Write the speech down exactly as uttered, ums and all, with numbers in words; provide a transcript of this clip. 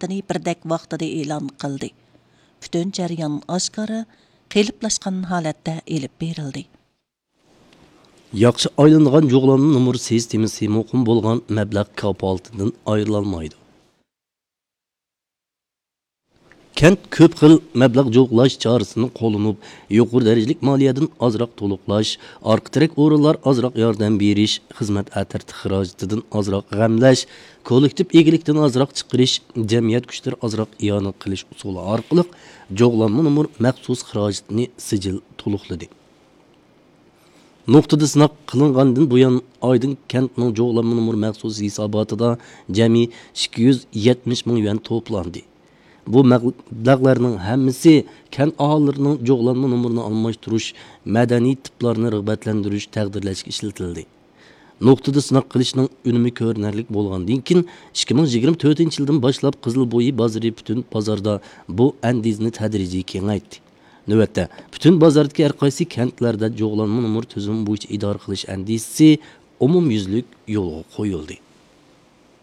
ئىشلىرىنى بىردەك ۋاقتىدا ئېلان قىلدى. پۈتۈن جەريان ئاشكارا، قېلىپلاشقان ھالەتتە ئېلىپ بېرىلدى. ياخشى ئايلىنىدىغان جۇغلانما نومۇر سىستېمىسى مۇقىم بولغان مەبلەغ كاپالىتىدىن ئايرىلالمايدۇ. كەنت كۆپ خىل مەبلەغ جۇغلاش چارىسىنى قوللىنىپ، يۇقىرى دەرىجىلىك مالىيەدىن ئازراق تولۇقلاش، ئارقا تىرەك ئورۇنلار ئازراق ياردەم بېرىش، خىزمەت ئەترىتى خىراجىتىدىن ئازراق غەملەش، كوللېكتىپ ئىگىلىكتىن ئازراق چىقىرىش، جەمئىيەت كۈچلىرى ئازراق ئىئانە قىلىش ئۇسۇلى ئارقىلىق جۇغلانما نومۇر مەخسۇس خىراجىتىنى سىجىل تولۇقلىدى. نۇقتىدا سىناق قىلىنغاندىن بۇيان، ئايدىڭ كەنتنىڭ جۇغلانما نومۇر مەخسۇس ھېساباتىدا جەمئىي ئىككى يۈز يەتمىش مىڭ يۈەن توپلاندى. بۇ مەبلەغلەرنىڭ ھەممىسى كەنت ئاھالىلىرىنىڭ جۇغلانما نومۇرىنى ئالماشتۇرۇش، مەدەنىي تىپلارنى رىغبەتلەندۈرۈش، تەقدىرلەشكە ئىشلىتىلدى. نۇقتىدا سىناق قىلىشنىڭ ئۈنۈمى كۆرۈنەرلىك بولغاندىن كېيىن، ئىككى مىڭ يىگىرمە تۆتىنچى يىلدىن باشلاپ قىزىل بويى بازىرى پۈتۈن بازاردا بۇ ئەندىزىنى تەدرىجىي كېڭەيتتى. نۆۋەتتە، پۈتۈن بازاردىكى ھەر قايسى كەنتلەردە جۇغلانما نومۇر تۈزۈمى بويىچە ئىدارە قىلىش ئەندىزىسى ئومۇميۈزلۈك يولغا قويۇلدى.